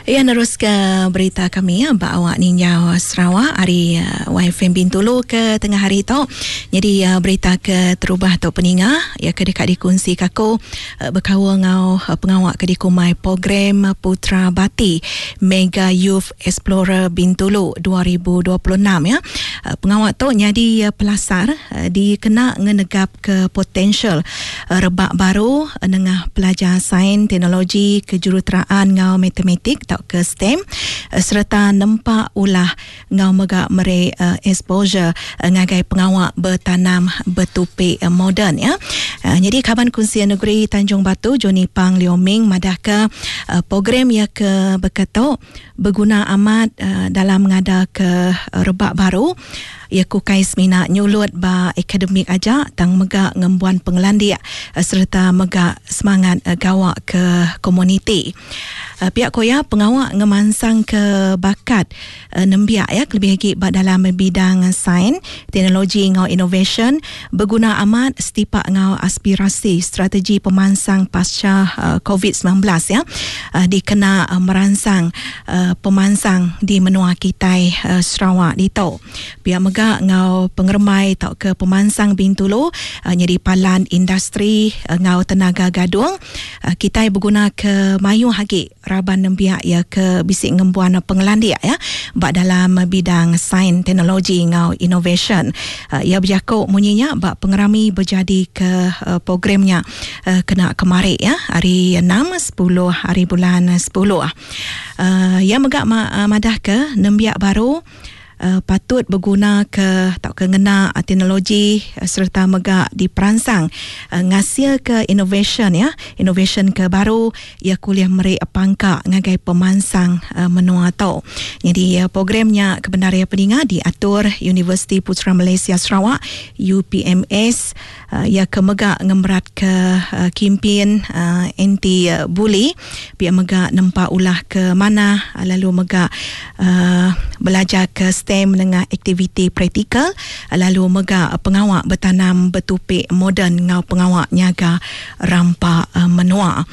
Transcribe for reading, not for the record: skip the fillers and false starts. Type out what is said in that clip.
Iya neruska berita kami ba awak ninjau Sarawak ari YFM Bintulu ke tengah hari tu. Nyadi berita ke terubah tu peninga iya ke deka dikunsika aku bekaul enggau pengawa ke dikumbai Program Putra Bati Mega Youth Explorer Bintulu 2026 ya. Pengawa tu nyadi pelasar dikena ngenegapka potensial rebak baru nengah pelajar sains, teknologi, kejuruteraan enggau matematik tauka STEM sereta nempa ulah enggau mega meri exposure ngagai pengawa betanam betupi moden ya. Nyadi Kaban Kunsil Negeri Tanjung Batu Johnny Pang Leo Ming madahka program iya ke baka tu beguna amat dalam ngadaka rebak baru. Iya ku ukai semina nyulut ba akademik aja tang mega ngembuan pengelandik sereta mega semangat gawa ke komuniti. Pia ku iya, pengawa ngemansangka bakat nembiak iya kelebih agi ba dalam bidang sains, teknologi enggau inovasyen beguna amat setipak enggau aspirasi strategi pemansang pasca Covid 19 iya dikena meransang pemansang di menua kitai Sarawak ditu. Pia mega enggau pengerembai tauka pemansang Bintulu nyadi palan industri enggau tenaga gadung, kitai begunaka mayuh agi raban nembiak iya ke bisi ngembuan pengelandik iya ba dalam bidang sains, teknologi enggau inovasyen. Iya bejaku munyi nya ba pengerami bejadika program nya kena kemari iya hari enam sepuluh hari bulan sepuluh. Iya mega madahka nembiak baru patut begunaka tauka ngena teknologi sereta mega diperansang ngasilka inovasyen ya, inovasyen ke baru iya ke ulih meri pangka ngagai pemansang menua tu. Nyadi program nya ke bendar iya peninga diatur Universiti Putra Malaysia Sarawak, UPMS, iya ke mega ngemeratka kimpin anti bully pia mega nempa ulah ke manah lalu mega belajarka STEM nengah aktiviti praktikal lalu mega pengawa betanam betupi moden enggau pengawa nyaga rampa menua.